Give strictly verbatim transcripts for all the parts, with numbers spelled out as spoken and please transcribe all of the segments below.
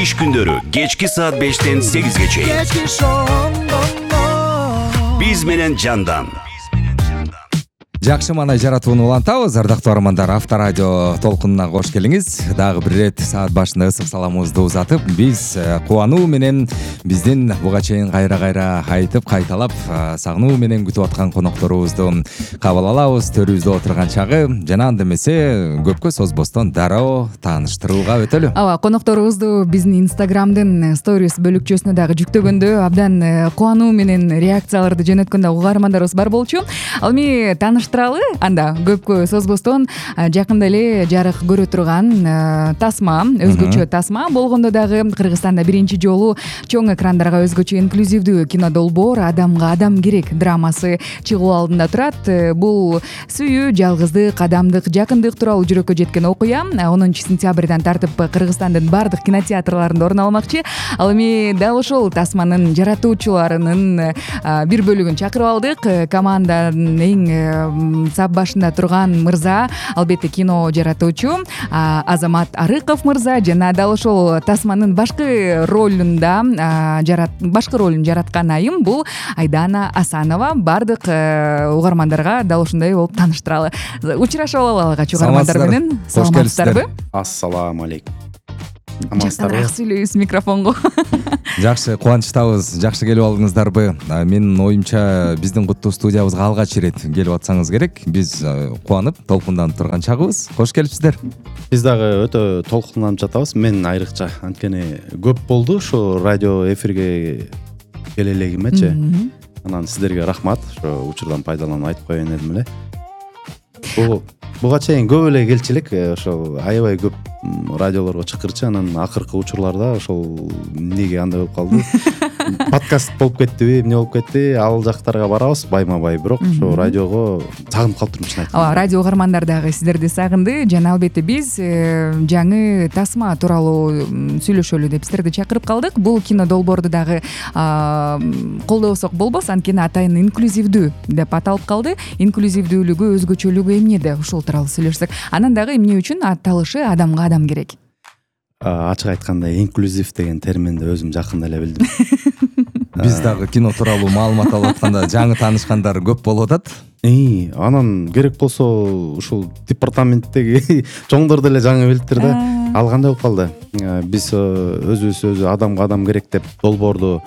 иш күндөрү кечки саат бештен сегизге чейин биз менен жандан. Жакшы маанай жаратууну улантабыз, ардактуу армандар. Авторадио толкунуна кош келиңиз. Дагы бир ирет саат башында ысык саламыбызды узатып, биз кубануу менен биздин буга чейин кайра-кайра айтып, кайталап, сагынуу менен күтүп аткан конокторубузду кабыл алабыз. Төрүбүздө отурган чагы жана анда эмесе көпкө созбостон дароо тааныштырууга өтөлү. Ооба, конокторубузду биздин Инстаграмдын сторис бөлүкчөсүнө дагы жүктөгөндө абдан кубануу менен реакцияларды жөнөткөндө угармандарыбыз бар болчу. Ал эми тааныш анда көпкө созбостон жакында эле жарык көрө турган тасма, өзгөчө тасма болгондо дагы Кыргызстанда биринчи жолу чоң экрандарга өзгөчө инклюзивдүү кино долбоор «Адамга адам керек» драмасы чыгуу алдында турат. Бул сүйүү, жалгыздык, адамдык, жакындык тууралуу жүрөккө жеткен окуя онунчу сентябрдан тартып Кыргызстандын бардык кинотеатрларында орун алмакчы. Ал эми дал ошол тасманын жаратуучуларынын бир бөлүгүн чакырып алдык. Команданын эң сап башында турган мырза, албетте кино жаратуучу Азамат Арыков мырза жана дал ошол тасманын башкы ролунда башкы ролун жараткан айым бул Айдана Асанова. Бардык угармандарга дал ушундай болуп тааныштыралы. Учурашып алалы угармандар менен. Саламатсыздарбы? Ассаламу алейкум. Жакыныраак сүйлөйбүз микрофонго. Жакшы, кубанычтабыз. Жакшы келип алдыңыздарбы? Менин оюмча биздин куттуу студиябызга алгач ирет келип атсаңыз керек. Биз кубанып, толкунданып турган чагыбыз. Кош келипсиздер. Биз дагы өтө толкунданып жатабыз. Мен айрыкча, анткени көп болду ушу радио эфирге келе элегимечи. Анан сиздерге рахмат. Ошо учурдан пайдаланып айтып коеюн дедим эле. Бул буга чейин көп эле келчү элек, ошол аябай көп радиолорго чакырчы, анан акыркы учурларда ошол эмнеге андай болуп калды? Подкаст болуп кеттиби, эмне болуп кетти? Ал жактарга барабыз байма-бай, бирок ошо радиого сагынып калыптырмын чын айтканда. Ооба, радио угармандар дагы сиздерди сагынды жана албетте биз жаңы тасма тууралуу сүйлөшөлү деп сиздерди чакырып калдык. Бул кино долбоорду дагы колдобосок болбос, анткени атайын инклюзивдүү деп аталып калды. Инклюзивдүүлүгү, өзгөчөлүгү эмнеде? Ушул тууралуу сүйлөшсөк. Анан дагы эмне үчүн аталышы «Адамга адам керек»? Ачык айтканда, инклюзив деген терминди өзүм жакында эле билдим. Биз дагы кино тууралуу маалымат алып атканда жаңы таанышкандар көп болуп атат. И, анан керек болсо ушул департаменттеги чоңдор деле жаңы билиптир да. Ал кандай болуп калды? Биз өзүбүз өзү «Адамга адам керек» деп долбоорду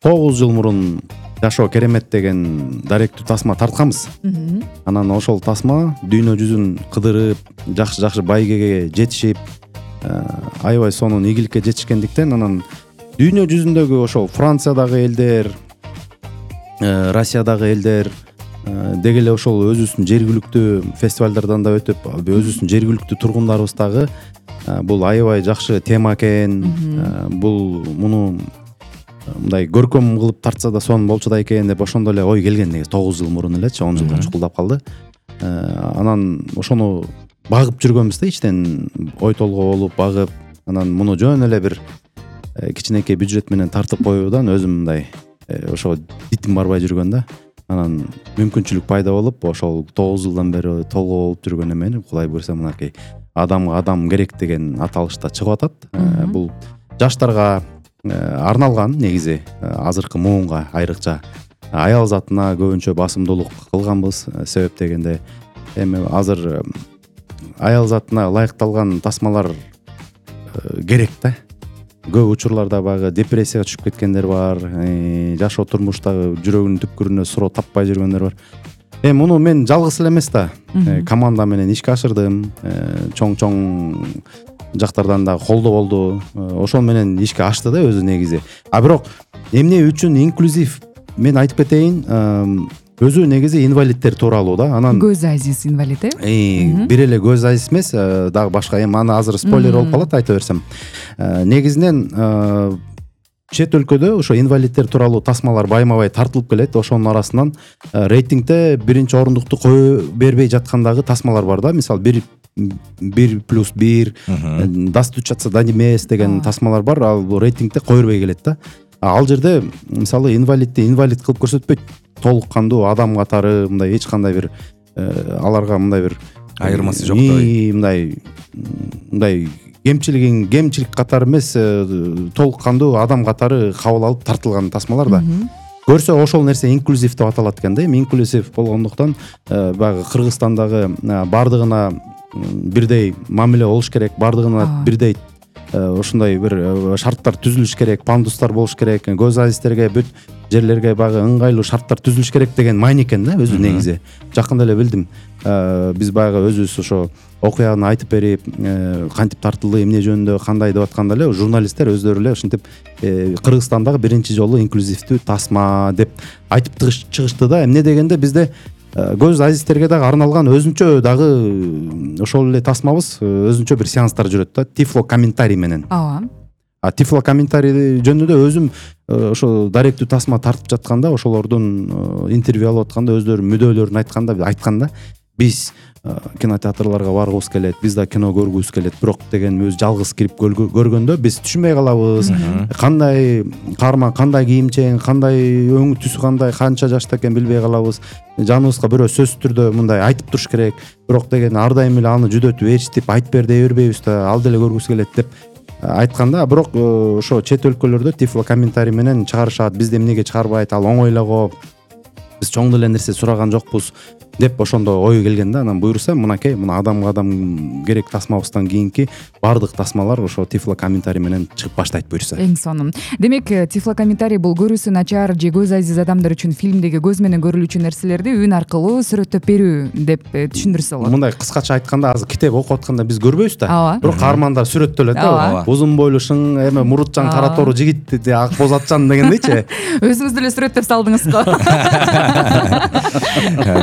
тогуз жыл мурун «Жашоо керемет» деген даректүү тасма тартканбыз. Анан ошол тасма дүйнө жүзүн кыдырып, жакшы-жакшы байгеге жетишип, аябай сонун ийгиликке жетишкендиктен анан дүйнө жүзүндөгү ошол Франциядагы элдер, Россиядагы элдер деги эле ошол өзүбүздүн жергиликтүү фестивалдардан да өтүп, өзүбүздүн жергиликтүү тургундарыбыз дагы бул аябай жакшы тема экен, бул муну мындай көркөм кылып тартса да сонун болчу да экен деп ошондо эле ой келген негизи тогуз жыл мурун элечи, он жылдан чукулдап калды. Анан ошону багып жүргөнбүз да, ичтен ой толгоо болуп багып, анан муну жөн эле бир кичинекей бюджет менен тартып коюудан өзүм мындай ошо дитим барбай жүргөн да. Анан мүмкүнчүлүк пайда болуп, ошол тогуз жылдан бери толгоо болуп жүргөн эмени Кудай буйрса мынакей «Адамга адам керек» деген аталышта чыгып атат. Бул жаштарга арналган негизи, азыркы муунга айрыкча аял затына көбүнчө басымдуулук кылганбыз. Себеп дегенде эми азыр аял затына ылайыкталган тасмалар керек да. Көп учурларда багы депрессияга түшүп кеткендер бар, жашоо турмуштагы жүрөгүнүн түпкүрүнө суроо таппай жүргөндөр бар. Эми муну мен жалгыз эле эмес да, команда менен ишке ашырдым. Чоң-чоң жактардан да колдоо болду. Ошол менен ишке ашты да өзү негизи. А бирок эмне үчүн инклюзив мен айтып кетейин, өзү негизи инвалидтер тууралуу да. Анан көз азиз инвалид э? Бир эле көз азиз эмес, дагы башка. Эми аны азыр спойлер болуп калат айта берсем. Негизинен чет өлкөдө ошо инвалидтер тууралуу тасмалар байма-бай тартылып келет. Ошонун арасынан рейтингде биринчи орундукту кое бербей жаткан дагы тасмалар бар да. Мисалы бир бир плюс бир, достучаться до небес деген тасмалар бар. Ал бул рейтингде кое бербей келет да. Ал жерде мисалы инвалидти инвалид кылып көрсөтпөйт. Толук кандуу адам катары мындай эч кандай бир аларга мындай бир айырмасы жоктой. Мындай мындай кемчилигин кемчилик катары эмес, толук кандуу адам катары кабыл алып тартылган тасмалар да. Көрсө ошол нерсе инклюзив деп аталат экен да. Эми инклюзив болгондуктан баягы Кыргызстандагы бардыгына бирдей мамиле болуш керек, бардыгына бирдей ушундай бир шарттар түзүлүш керек, пандустар болуш керек, көз азистерге бүт жерлерге баягы ыңгайлуу шарттар түзүлүш керек деген маани экен да өзү негизи. Жакында эле билдим. Биз баягы өзүбүз ошо окуяны айтып берип, кантип тартылды, эмне жөнүндө, кандай деп атканда эле журналисттер өздөрү эле ушинтип Кыргызстандагы биринчи жолу инклюзивдүү тасма деп айтып чыгышты да. Эмне дегенде бизде көз азистерге дагы арналган өзүнчө дагы ошол эле тасмабыз, өзүнчө бир сеанстар жүрөт да, тифло комментарий менен. Ооба. А тифло комментарий жөнүндө өзүм ошо даректүү тасма тартып жатканда, ошолордун интервью алып атканда өздөрү мүдөлөрүн айтканда айтканда биз кинотеатрларга баргыбыз келет, биз да кино көргүбүз келет, бирок деген өзү жалгыз кирип көргөндө биз түшүнбөй калабыз. Кандай каарман, кандай кийимчең, кандай өң түсү, кандай канча жашта экен билбей калабыз. Жаныбызга бирөө сөзсүз түрдө мындай айтып туруш керек, бирок деген ар дайым эле аны жүдөтүп ээрчитип айтып бер дей бербейбиз да, ал деле көргүбүз келет деп айтканда, бирок ошо чет өлкөлөрдө тифло комментарий менен чыгарышат. Бизде эмнеге чыгарбайт, ал оңой эле го, биз чоң деле нерсе сураган жокпуз деп ошондо ой келген да. Анан буюрса мынакей, мына адамга адам керек тасмабыздан кийинки баардык тасмалар ошо тифло комментарий менен чыгып баштайт буюрса. Эң сонун. Демек, тифло комментарий бул көрүүсү начар же көз азиз адамдар үчүн фильмдеги көз менен көрүлүүчү нерселерди үн аркылуу сүрөттөп берүү деп түшүндүрсө болот. Мындай кыскача айтканда, азыр китеп окуп атканда биз көрбөйбүз да. Бирок каармандар сүрөттөлөт да. Узун бойлуу, шың, эме мурутчан, кара тору жигит, ак боз атчан дегендейчи. Өзүңүз деле сүрөттөп салдыңыз го.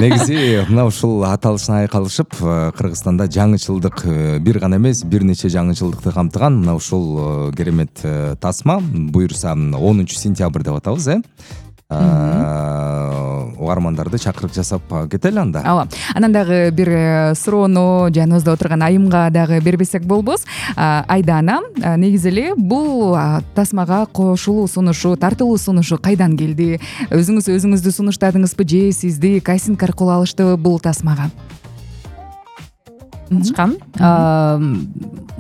Негизи мына ушул аталышына айкалышып, Кыргызстанда жаңычылдык бир гана эмес, бир нече жаңычылдыкты камтыган мына ушул керемет тасма буюрса онунчу сентябрь деп атабыз, э? Угармандарды чакырык жасап кетели анда. Ооба. Анан дагы бир суроону жаныбызда отурган Айымга дагы бербесек болбос. Айдана, негизи эле бул тасмага кошулуу сунушу, тартылуу сунушу кайдан келди? Өзүңүз өзүңүздү сунуштадыңызбы же сизди кастинг аркылуу алышты бул тасмага? Катышкам.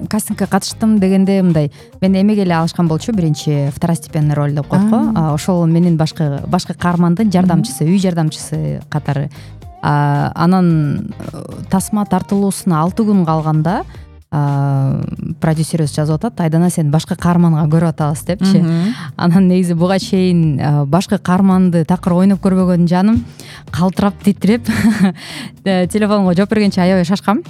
Кастингге катыштым дегенде мындай, мен эмеге эле алышкан болчу, биринчи второстепенный роль деп коет го. Ошол менин башкы башкы каармандын жардамчысы, үй жардамчысы катары. Анан тасма тартылуусуна алты күн калганда продюсерибиз жазып атат: Айдана, сен башкы каарманга көрүп атабыз депчи. Анан негизи буга чейин башкы каарманды такыр ойноп көрбөгөн жаным калтырап, титиреп телефонго жооп бергенче аябай шашкам.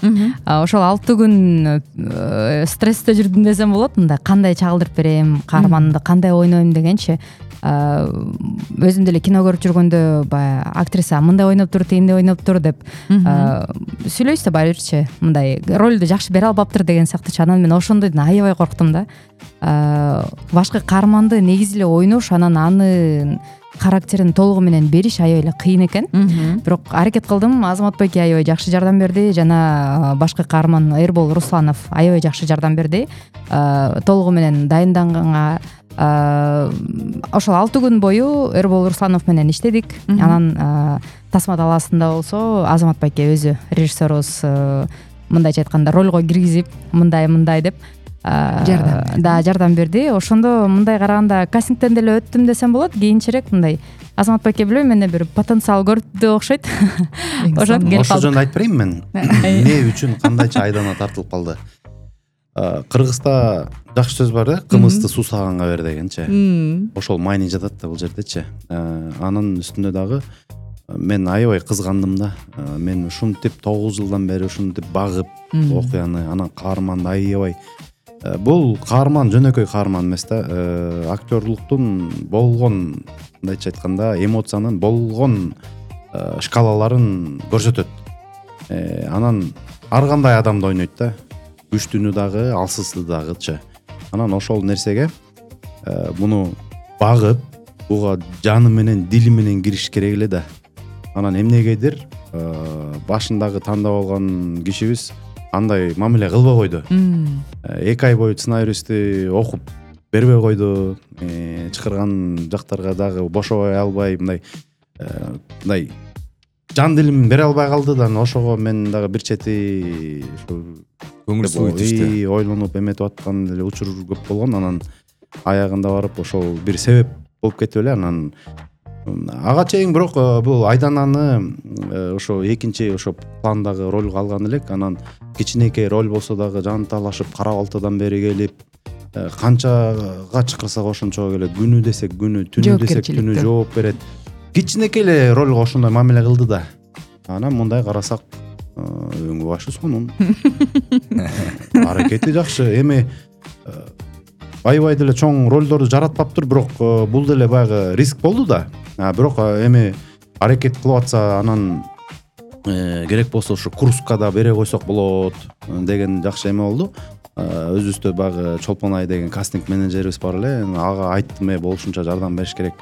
Ошол алты күн стрессте жүрдүм десем болот. Мындай кандай чагылдырып берем, каарманды кандай ойнойм дегенчи. Өзүм деле кино көрүп жүргөндө баягы актриса мындай ойноп тур, тигиндей ойноп тур деп сүйлөйсүз да баырчы, мындай ролду жакшы бере албаптыр деген сыяктуу. Анан мен ошондойдон аябай корктум да. Башкы каарманды негизи эле ойнош, анан аны характерин толугу менен бериш аябай эле кыйын экен. Бирок аракет кылдым. Азамат байке аябай жакшы жардам берди, жана башкы каарман Эрбол Русланов аябай жакшы жардам берди. Толугу менен дайынданганга ошол алты күн бою Эрбол Русланов менен иштедик. Анан тасма талаасында болсо Азамат байке өзү, режиссерубуз, мындайча айтканда ролго киргизип, мындай-мындай деп жардам да жардам берди. Ошондо мындай караганда кастингден деле өттүм десем болот. Кийинчерээк мындай Азамат байке билбейм, менде бир потенциал көрдү окшойт. Ошол жөнүндө айтып берейин мен. Эмне үчүн, кандайча Айдана тартылып калды? Кыргызда жакшы сөз бар да, кымызды суусаганга бер дегенчи. Ошол маани жатат да бул жердечи. Анын үстүндө дагы мен аябай кызгандым да. Мен ушинтип тогуз жылдан бери ушинтип багып окуяны, анан каарманды аябай. Бул каарман жөнөкөй каарман эмес да. Актерлуктун болгон, мындайча айтканда, эмоциянын болгон шкалаларын көрсөтөт. Анан ар кандай адамды ойнойт да. Күчтүүнү дагы, алсызды дагычы. Анан ошол нерсеге муну багып, буга жаны менен, дили менен кириш керек эле да. Анан эмнегедир башындагы тандап алган кишибиз андай мамиле кылбай койду. Эки ай бою сценарийсти окуп бербей койду. Чакырган жактарга дагы бошобой албай, мындай мындай жан дилимин бере албай калды да ошого мен дагы бир чети ушу көңүл суу тийишти. ойлонуп эметип аткан эле учур көп болгон. Анан аягында барып ошол бир себеп болуп кетип эле. Анан ага чейин бирок бул Айдананы ошо экинчи ошо пландагы ролго алган элек. Анан кичинекей роль болсо дагы жан талашып кара балтадан бери келип канчага чакырсак ошончого келет. Күнү десек күнү, түнү десек түнү жооп берет. Кичинекей эле ролго ошондой мамиле кылды да. Анан мындай карасак өңү башы сонун. Аракети жакшы. Эми аябай деле чоң ролдорду жаратпаптыр, бирок бул деле баягы риск болду да. Бирок эми аракет кылып атса анан керек болсо ушу Курскка да бере койсок болот деген жакшы эме болду. Өзүбүздө баягы Чолпон Ай деген кастинг менеджерибиз бар эле. Ага айттым, э болушунча жардам бериш керек.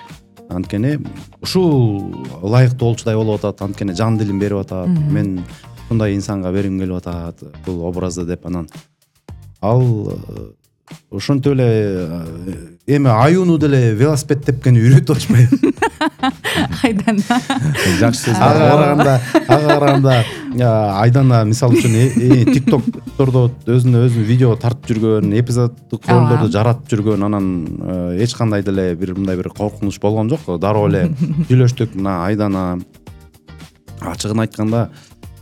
Анткени ушул ылайыктуу болчудай болуп атат. Анткени жан дилин берип атат. Мен ушундай инсанга бергим келип атат бул образды деп. Анан ал ошентип эле эми аюуну деле велосипед тепкени үйрөтүп атышпайбы? Айдан Жакшы сөз. Ага караганда, ага караганда Айдана мисалы үчүн тиктоктордо өзүнө өзү видео тартып жүргөн, эпизоддук ролдорду жаратып жүргөн. Анан эч кандай деле бир мындай бир коркунуч болгон жок. Дароо эле сүйлөштүк. Мына Айдана ачыгын айтканда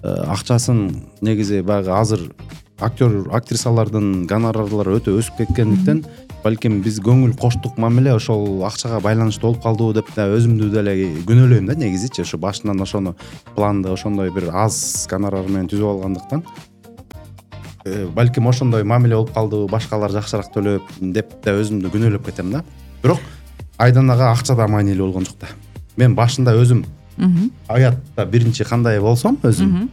акчасын негизи баягы азыр актер актрисалардын гонорарлары өтө өсүп кеткендиктен балким биз көңүл коштук мамиле ошол акчага байланыштуу болуп калдыбы деп да өзүмдү деле күнөөлөйм да негизичи. Ошо башынан ошону планды ошондой бир аз гонорар менен түзүп алгандыктан балким ошондой мамиле болуп калдыбы, башкалар жакшыраак төлөп деп да өзүмдү күнөөлөп кетем да. Бирок Айданага акча да маанилүү болгон жок да. Мен башында өзүм аятта биринчи кандай болсом өзүм